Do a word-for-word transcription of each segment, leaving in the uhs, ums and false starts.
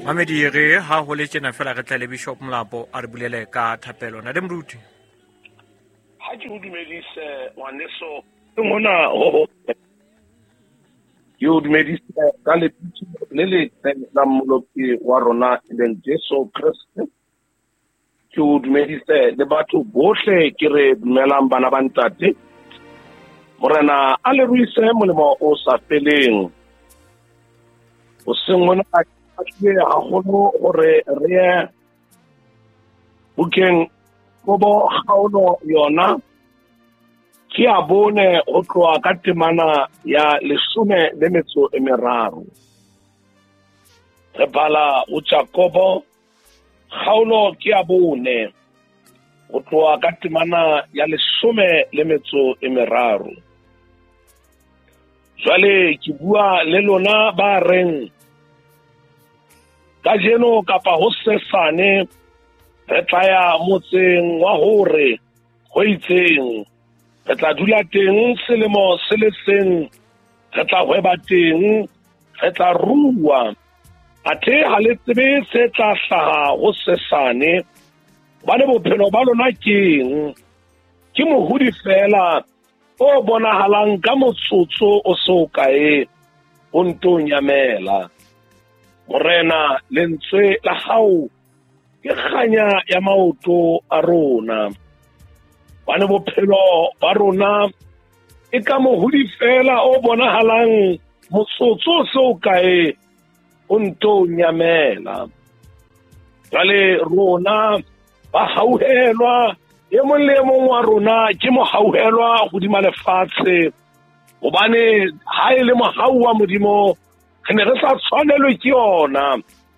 Mamedi re ha ho le tjena fela re tla le Bishop Molapo a re bulele ka thapelo. Na le moruti. Ha ke o dumedise ngwaneso ngona ho ke o dumedise ka lebitso le letle la Mmoloki wa rona e leng Jesu Kreste. Ke o dumedise le batho bohle ke re dumelang bana ba ntate. Morena a le ruise molemo o sa feleng. O seng ona a tlile haholo hore re ye bukeng Kobo kgaolo yona ke a bone ho tloha ka temana ya leshome le metso e meraro. Re bala ho Jakobo kgaolo ke a bone ho tloha ka temana ya leshome le metso e meraro. Jwale ke bua le lona ba reng kajeno kapa ho sesane re tla ya motseng wa hore ho itseng, re tla dula teng selemo se le seng, re tla hweba teng, re tla rua. Athe ha le tsebe se tla hlaha ho sesane, hobane bophelo ba lona keng? Ke mohodi fela o bonahalang ka motsotso o so kae o nto nyamela. Morena, lentswe la hao ke kganya ya maoto a rona. Hobane bophelo ba rona e ka mohodi fela o bonahalang motsotso o so kae o nto nyamela. Jwale rona ba hauhelwa, e mong le e mong wa rona ke mohauhelwa hodima lefatshe, hobane ha e le mohau wa Modimo re ne re sa tshwanelwe ke yona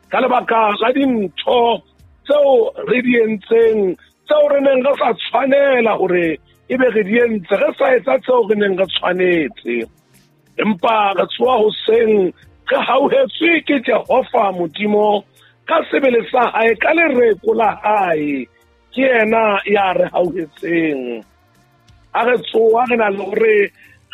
ka lebaka la dintho tseo re di entseng, tseo re neng re sa tshwanela hore ebe re di entse, re sa etsa tseo re neng re tshwanetse. Empa re tsoha hoseng re hauhetswe ke Jehova Modimo ka sebele sa hae, ka lereko la hae, ke yena ya re hauhetseng. Ha re tsoha re na le hore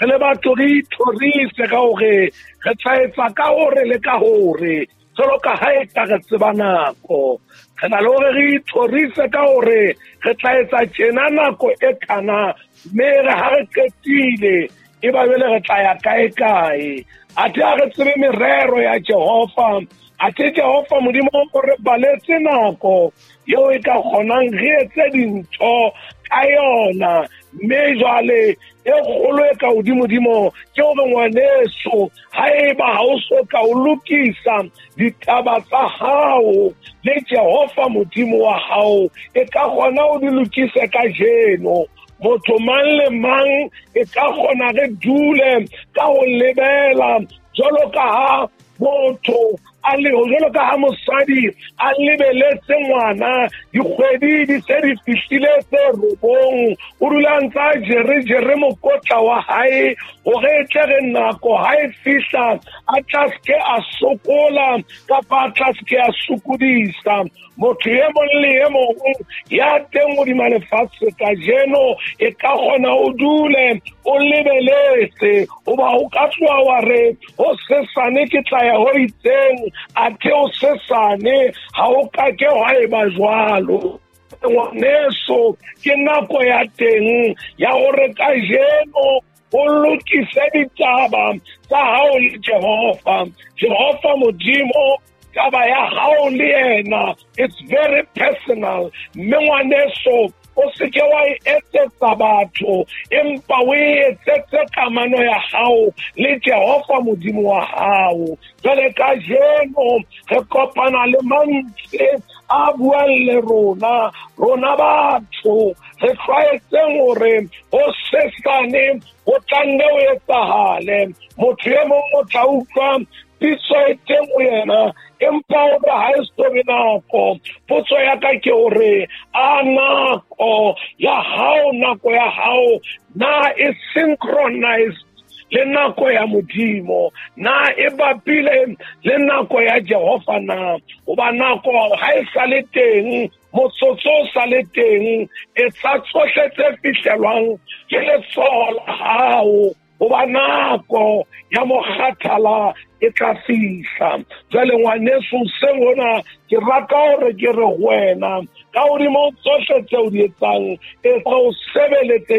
re le batho re ithorise ka hore re tla etsa ka hore le ka hore, jwalo ka ha e ka re tseba nako. Re na le hore re ithorise ka hore re tla etsa tjena nako e kana, mme re ha re qetile e ba jwale re tla ya kae kae. Athe ha re tsebe merero ya Jehova, athe Jehova Modimo o re baletse nako eo e ka kgonang re etse dintho ka yona. Mme jwale e kgolo e ka hodimodimo ke hore ngwaneso, haeba ha o so ka o lokisa ditaba tsa hao le Jehova Modimo wa hao, e ka kgona o di lokise kajeno. Motho mang le mang e ka kgona re dule ka ho lebela jwalo ka ha motho a le jwalo ka ha mosadi a lebeletse ngwana, dikgwedi di se di fihlile tse robong, o dula ntse a jere jere mokotla wa hae hore e tle re nako ha e fihla a tla ske a sokola kapa a tla ske a sokodisa. Motho e mong le e mong ya teng hodima lefatshe kajeno e ka kgona o dule o lebeletse, hoba o ka tloha wa re ho sesane ke tla ya ho itseng, athe o sesane ha o ka ke hwa eba jwalo. Ngwaneso, ke nako ya teng ya hore kajeno o lokise ditaba tsa hao le Jehova. Jehova Modimo, taba ya hao le yena, it's very personal. Mme ngwaneso, o se ke wa e etsetsa batho, empa o e etsetse kamano ya hao le Jehova Modimo wa hao. Jwale kajeno re kopana le mantswe a buang le rona, rona batho re tlwaetseng hore ho sesane ho tla nne ho etsahale. Motho e mong o tla utlwa pitso e teng ho yena, empa o re ha e so be nako. Potso ya ka ke hore a nako ya hao, nako ya hao na e synchronized le nako ya Modimo, na e bapile le nako ya Jehova na? Hoba nako ha e sa le teng, motsotso o sa le teng, etsa tsohle tse fihlelwang ke letsoho la hao. Hoba nako ya mokgathala e tla fihla. Jwale ngwaneso hoseng hona ke rata hore ke re ho wena ka hodimo tsohle tseo di etsang, etsa o sebeletse